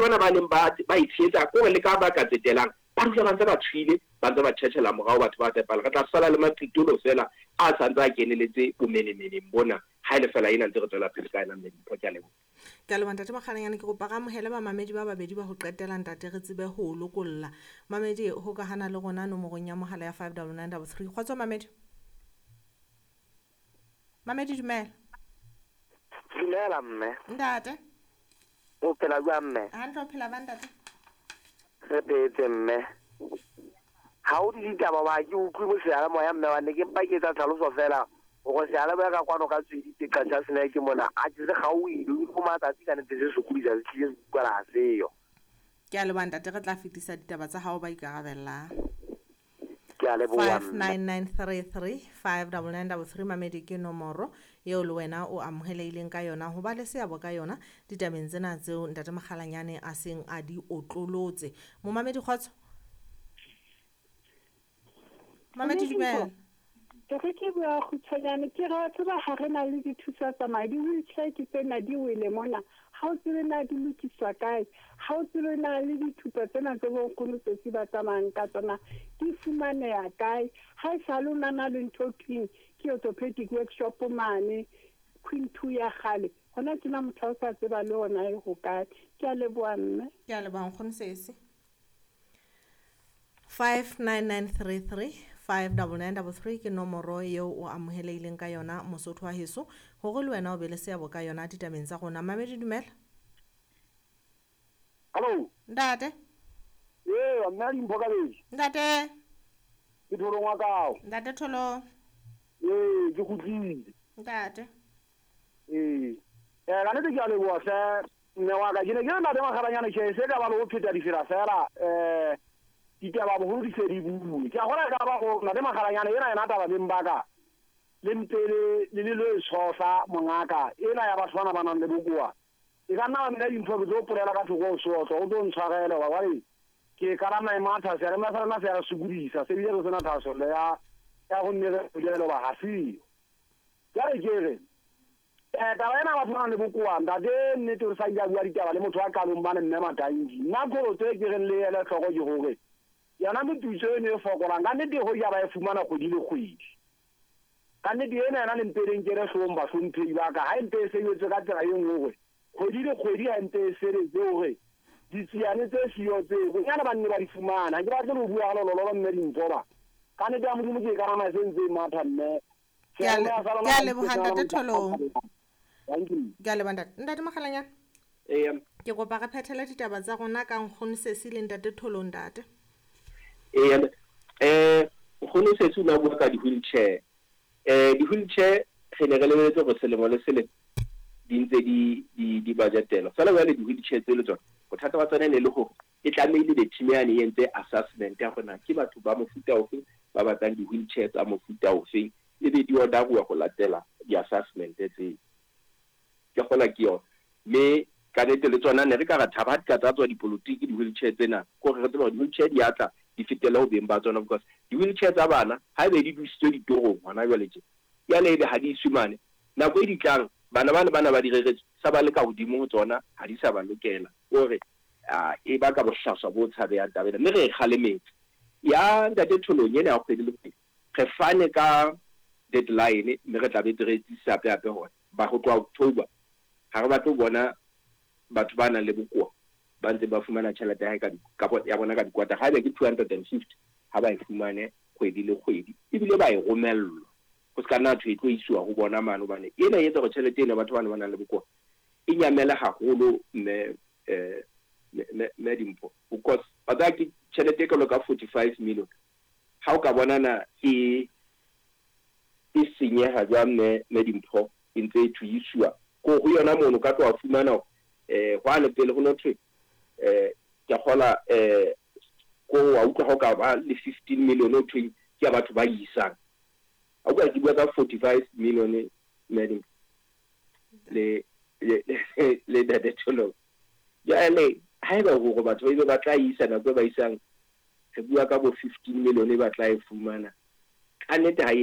Bana ba neng ba ba e tshehetsa ke hore le ka ba ka tsetelang ba dula ba ntse ba tshohile, ba ntse ba tjhetjhela morao batho ba tshepahala. Re tla sala le maqitolo feela a sa ntse a keneletse bomenemeneng bona ha e le feela ena ntse re tswela pele ka yona Mme Dimpho. Ke a leboha. Ke a leboha Ntate Makgalanyane. Ke kopa re amohele bamamedi ba babedi ba ho qetela Ntate re tsebe ho o lokolla. Mamedi hokahana le rona nomorong ya mohala ya 59933. Kgotso mamedi. Mamedi dumela. Dumela mme. Ntate. O phela jwang mme? Hantle o phela ba ntate. Re phetse mme. Ha o di ditaba ba ke utlwe mo seyalemoya mme wa ne ke mpa ke etsa tlhaloso fela hore seyalemoya ka kwano ka tsweditse Qacha's Nek mona a ke se kgaohile o matsatsi ka nnete se sokodisa se tlile se utlwala ha seyo. Ke a leboha ntate re tla fetisa ditaba tsa hao ba ikarabellang. Ke a leboha mme. 59933 59933 mamedi ke nomoro eo le wena o amohelehileng ka yona ho ba le seabo ka yona ditabeng tsena tseo Ntate Makgalanyane a seng a di otlolotse. Momamedi kgotso. Mamedi dumela. Ke re ke bua kgutshwanyane ke re wa tseba ha re na le dithusa tsamaya di-wheelchair ke tsena di wele mona ha o tsebe na di lokiswa kae ha o tsebe na le dithupa tsena tse bonkgono tsotsi ba tsamayang ka tsona di fumaneha kae ha e sale o nana le ntho thweng ke orthopedic workshop mane Queen 2 ya kgale hona tjena motho ha o sa tseba le ona e hokae. Ke a leboha mme. Ke a leboha nkgono sesi. 59933 59933 ke nomoro eo o amohelehileng ka yona Mosotho wa heso hore le wena o be le seabo ka yona ditabeng tsa rona. Mamedi dumela. Hallo. Ntate. Ee, mme a Dimpho Kabedi. Ntate. Ke Tholong wa kao. Ntate Tholong. Ee, ke kgutlile. Ntate. Ee. Ka nnete ke a leboha hle mme wa ka. Ke ne ke re ntate Makgalanyane tjhe se ka ba le ho pheta difela fela ditaba boholo di se di bue. Ke a kgolwa e ka ba go ntate Makgalanyane ena yena taba beng ba ka le mpe le le lo e tshohla mongaka ena ya batho bana ba nang le bokoa. E ka nna mme Dimpho ke tlo polela ka thoko o sotlo o tlo ntshwarele wa jwale ke ka maemo a tlase re sa rena se ya re sokodisa se bile re sena thahasello ya ya go nne re bolelo ba ga seo. Jwale ke re taba ena batho ba nang le bokoa ntate nnete re sa ile a bua ditaba le motho wa qalong bane mme Matanki. Nna kgolotso e ke reng le ele hloko ke hore yona moputso eno e fokolang ka nnete ho ja ba e fumana kgwedi le kgwedi. Ka nnete ena yona le mpe le nkele hloohong bahlomphehi ba ka ha e mpe e sebetse ka tsela e nngwe hore kgwedi le kgwedi ha mpe e sebetse hore ditsiane tse siyo tse bonyane ba nne ba di fumana. Ha ke batle le ho bua ka lolololo mme Dimpho ba. Ka nnete ya Modimo ke e ka nama se ntse e matha mme. Ke a leboha Ntate Tholong. Ke a leboha ntate. Ntate Makgalanyane. Ee. Ke kopa re phethele ditaba tsa rona ka nkgono Sesi le Ntate Tholong ntate. Ee, nkgono Sesi o ne a bua ka di-wheelchair. Di-wheelchair re ne re lebeletse hore selemo le selemo di ntse di budgetelwa. Feela jwale di-wheelchair tse le tsona bothata ba tsona e ne le hore e tlamehile be team yane e entse assessment ya hore na ke batho ba mofuta ofe ba batlang di-wheelchair tsa mofuta ofeng ebe di order-uwa ho latela di-assessment tseo. Ke kgola ke yona. Mme ka nnete le tsona ne re ka ra thaba ha di ka tsa tswa dipolotiki di-wheelchair tsena ke hore re tsebe hore di-wheelchair di a tla di fetele ho beng ba tsona because di-wheelchair tsa bana ha ebe di dusitswe ditorong hona jwale tje jwale ebe ha di iswe mane nako e di tlang bana bane bana ba di reretswe sa ba le ka hodimo ho tsona ha di sa ba lokela hore e baka bohlaswa bo tshabehang taba ena mme re e kgalemetse. Ya Ntate Tholong ena ya kgwedi le kgwedi re fane ka deadline mme re tla be re etsisa hape hape hore ba ho tloha October ha re batle ho bona batho ba nang le bokoa ba ntse ba fumana tjhelete ya hae ka ya bona ka dikwata haebe ke 250 ha ba e fumane kgwedi le kgwedi ebile ba e romellwa ho se ka nna thwe e tlo isiwa ho bona mane hobane ena e etsa hore tjhelete ena batho bana ba nang le bokoa e nyamele haholo mme mme Dimpho because wa tseba ke tjhelete e kalo ka 45 million ha o ka bona na e senyeha jwang mme mme Dimpho e ntse e thuisiwa ko ho yona mono ka tloha fumana hore hwane pele ho no thwe ke kgola ko wa utlwa ha o ka ba le 15 million o thweng ke ya batho ba isang. A utlwa ke bua ka 45 million mme Dimpho le le Ntate Tholong. Jwale haeba hore batho ba ile ba tla isa nako e ba isang re bua ka bo 15 million e ba tla e fumana ka nnete ha e